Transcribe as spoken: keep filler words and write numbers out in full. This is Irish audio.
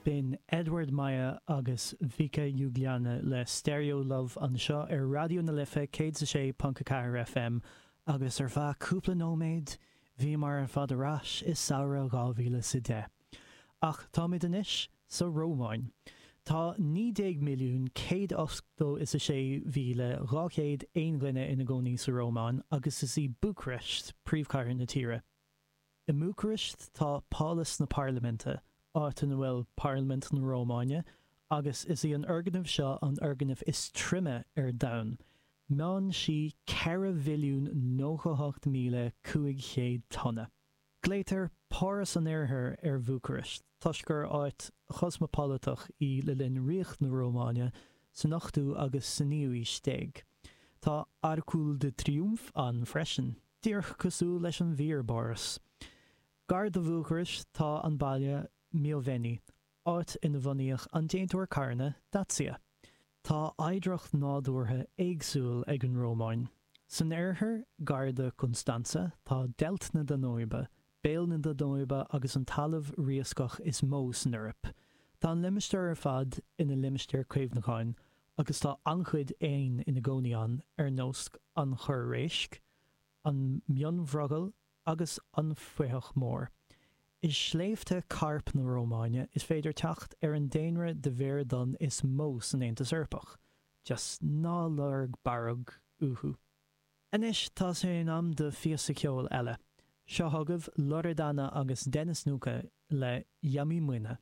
B'in Edward Maya agus Vica Jugliane le Stereo Love anseo ar Raidió na Life céad is a sé ponc a ceathair FM agus ar feadh cúpla nóiméad bhíomar ar fad ar ais i samhradh dhá mhíle is a deich. Ach táimid anois sa Rómáin. Tá naoi déag milliún céad ochtó is a sé mhíle dhá chéad aon dhuine ina gcónaí sa Rómáin agus is í Búcairist príomhchathair na tíre. I mBúcairist tá Pálas na Parlaiminte, áit ina bhfuil Parlaimint na Rómáine, agus is í an fhoirgneamh seo an fhoirgneamh is troime ar domhan. Meánn sí ceithre mhilliún nócha hocht míle cúig chéad tonna. Glaotar Páras an Oirthir ar Bhúcairist toisc gur áit chosmapolatach í le linn Ríocht na Rómáine san ochtú agus sa naoú aois déag. Tá Arcul de Triumf ann freisin. Díreach cosúil leis an bhfíor-Pháras. Gar do Bhúcairist tá an baile Mioveni, áit ina bhunaíodh an déantóir carranna Dacia. Tá oidhreacht nádúrtha éagsúil ag an Rómáin. San oirthear, gar do Constanța, tá Deilt na Danóibe, béal na Danóibe agus an talamh riascach is mó san Eoraip. Tá an limistéar ar fad ina limistéar caomhnúcháin agus tá an-chuid éan ina gcónaí ann ar nós an chorr réisc, an mionbhroghall agus an fathach mór. I sléibhte Cairp na Rómáine is féidir teacht ar an daonra de bhéar donn is mó san Aontas Eorpach. Just ná lorg barróg uathu. Anois tá sé in am do phíosa ceoil eile. Seo chugaibh Loredana agus Denis Nuka le Iami Mâine.